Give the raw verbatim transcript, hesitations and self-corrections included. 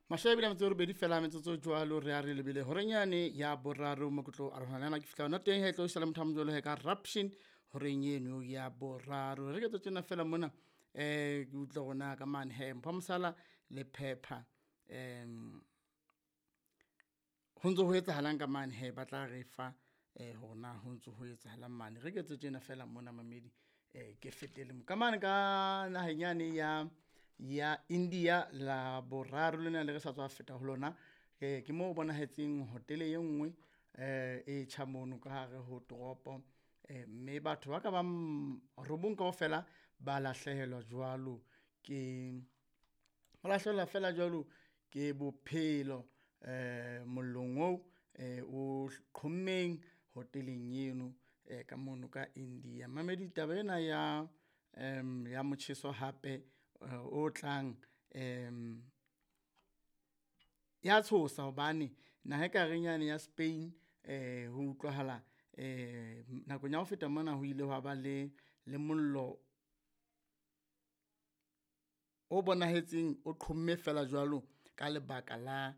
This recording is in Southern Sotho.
Mashome a mabedi a metso e robedi fela metsotso jwalo re a re lebile horeng yane ya boraro mo ke tlo arohana le yena ke fihla hona teng he tlo sala motho a mojwalo he ka raption horeng eno ya boraro. Re ke tjena fela mona eh ke utlwa hore na ka mane he Mpho Mosala le Phepha um ho ntso ho etsahalang ka mane he ba tla re fa eh hore na ho ntso ho etsahalang mane. Re ke tse tjena fela mona mamedi eh ke fetele mo. Ka mane ka naheng yane ya ya India la boraro lena le re sa tswa feta ho lona. Eh ke mo bonahetseng hotele e nngwe eh e tjha mono ka hare ho toropo. Eh mme batho ba ka bang robong kaofela ba lahlehelwa jwalo ke, ba lahlehelwa fela jwalo ke bophelo eh mollong oo eh o qhommeng hoteleng eno eh ka mono ka India. Mamedi taba ena ya em ya motjheso hape o tlang em ya tshosa hobane naha ekareng yane ya Spain eh ho utlwahala eh nakong ya ho feta mona ho ile hwa ba le le mollo o bonahetseng o qhomme feela jwalo ka lebaka la.